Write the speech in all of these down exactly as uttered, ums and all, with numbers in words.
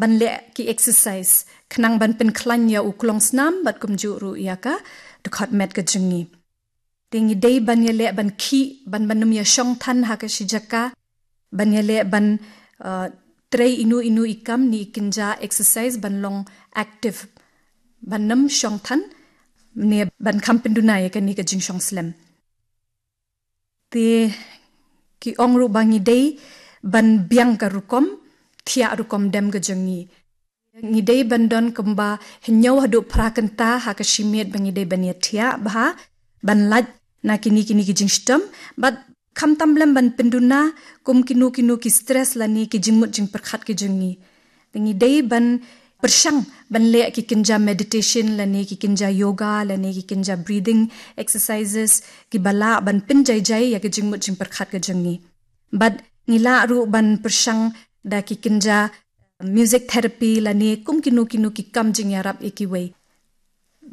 ban leh ki exercise khnang ban pynkhlaiñ ïa u klong snam bad kumjuh ruh ïa ka dkhot met ka jong ngi. Te ngi dei ban ïaleh ban khih, ban ban ym ïa shong than ha ka shi jaka, ban ïaleh ban, uh, trei inu inu i kam ne i kynja exercise ban long active, ban ym shong than ne ban kham pynduna ïa kane ka jingshong slem. Te ki ong ruh ba ngi dei ban biang ka rukom thiah rukom dem ka jong ngi. Ngi dei ban don kumba hynñiew haduh phra kynta ha ka shi miet ba ngi dei ban ïa thiah bha, ban lait na kine kine ki jingshitom, bad khamtam lem ban pynduna kum kino kino ki stress lane ki jingmut jingpyrkhat ki jong ngi. Te ngi dei ban pyrshang ban leh ki kynja meditation lane ki kynja yoga lane ki kynja breathing exercises kiba lah ban pynjaijai ïa ki jingmut jingpyrkhat ki jong ngi. Bad ngi lah ruh ban pyrshang da ki kynja music therapy lane kum kino kino ki kam jingïarap ïa kiwei.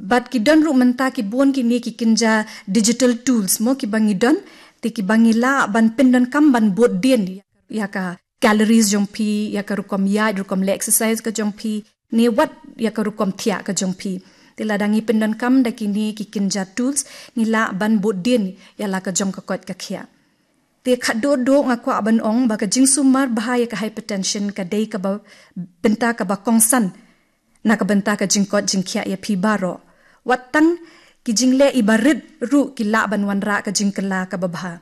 Bad ki don ruh mynta ki bun kine ki kynja digital tools mo kiba ngi don, te kiba ngi lah ban pyndonkam ban bud dien ïa ka calories jong phi, ïa ka rukom ïaid, rukom leh exercise ka jong phi, ne wat ïa ka rukom thiah ka jong phi. Te lada ngi pyndonkam da kine ki kynja tools, ngi lah ban bud dien ïa la ka jong ka koit ka khiah. Te khatduh duh nga kwah ban ong ba ka jingsumar bha ïa ka hypertension ka dei kaba bynta kaba kongsan na ka bynta ka jingkoit jingkhiah ïa phi baroh. Wat tang ki jingleh iba rit ruh ki lah ban wanrah ka jingkylla kaba bha.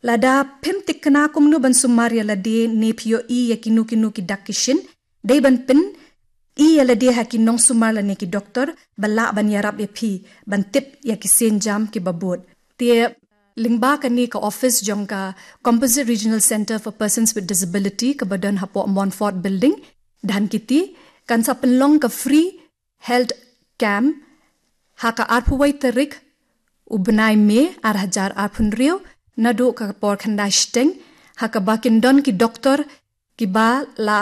Lada phim thikna kumno ban sumar ïa lade ne phi ïohi ïa kino kino ki dak ki shin, dei ban pyn-i ïa lade ha ki nongsumar lane ki doktor ba lah ban ïarap ïa phi ban tip ïa ki sienjam kiba bud. Te lyngba kane ka office jong ka Composite Regional Centre for Persons with Disability kaba don hapoh Montfort Building, Dhankheti, kan sa pynlong ka free health camp ha ka arphew wei tarik u bnai May ar hajar arphew hynriew, naduh ka por khyndai shiteng, ha kaba kin don ki doktor kiba la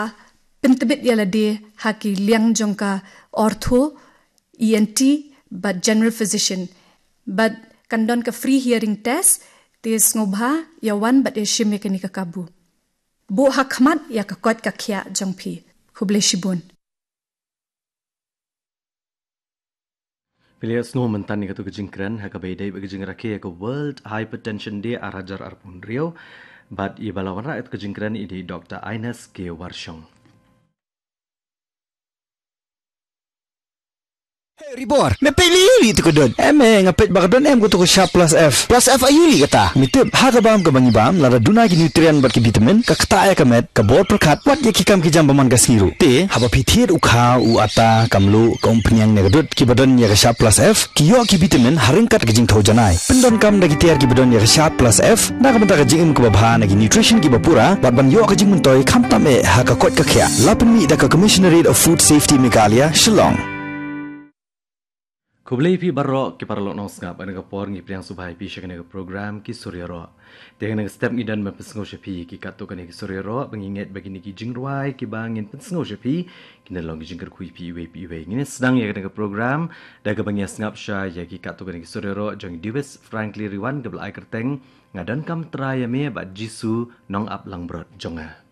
pyntbit ïa lade ha ki liang jong ka ortho, E N T bad general physician. Bad kan don ka free hearing test, te sngewbha ïa wan bad ïa shim ïa kane ka kabu. Buh ha khmat ïa ka koit ka khiah jong phi. Khublei shibun. Phi la ïohsngew mynta ïa katei ka jingkren ha kaba ïadei bad ka jingrakhe ïa ka World Hypertension Day ar hajar arphew hynriew. Bad iba la wanrah ïa katei ka jingkren i dei Doktor Ines K Warshong. Hey, Ribor, me peit lili tu ka don. Em, eh, nga peit ba ka don em ka tu ka Sharp Plus F. Plus F aïu li kata? Me tip, ha ka bam ka ba ngi bam, lada duna ki nutrient bad ki vitamin, ka ktah ïa ka met, ka bor pyrkhat, wat ïa ki kam ki jam ba man ka sngi ruh. Te, haba phi thied u kha, u atta, ka mluh, ka umphniang ne ka dud, kiba don ïa ka Sharp Plus F, ki ïoh ki vitamin, ha ryngkat ka jingthew janai. Pyndonkam da ki tiar kiba don ïa ka Sharp Plus F, na ka bynta ka jingim kaba bha na ki nutrition kiba pura, bad ban ïoh ka jingmyntoi khamtam eh ha ka koit ka khiah. La pynmih da ka Commissionerate of Food Safety Meghalaya, Shillong. Khublei phi baroh ki paralok nongsngap, ha kane ka por ngi pdiang sngewbha ïa phi sha kane ka program Ki Sur Ïaroh. Te ha kane ka step ngi don ban pynsngew sha phi ki katto katne ki sur ïaroh, ba ngi ngeit ba kine ki jingrwai kiba ngin pynsngew sha phi kin long ki jingkyrkhu ïa phi iwei pa iwei. Ngin sdang ïa kane ka program da kaba ngi sngap shai ïa ki katto katne ki sur ïaroh jong i Dewis Frankly Riwan kaba la ai kyrteng Nga Donkam Trai ïa Me bad Jisu Nongap Langbrot jong Nga.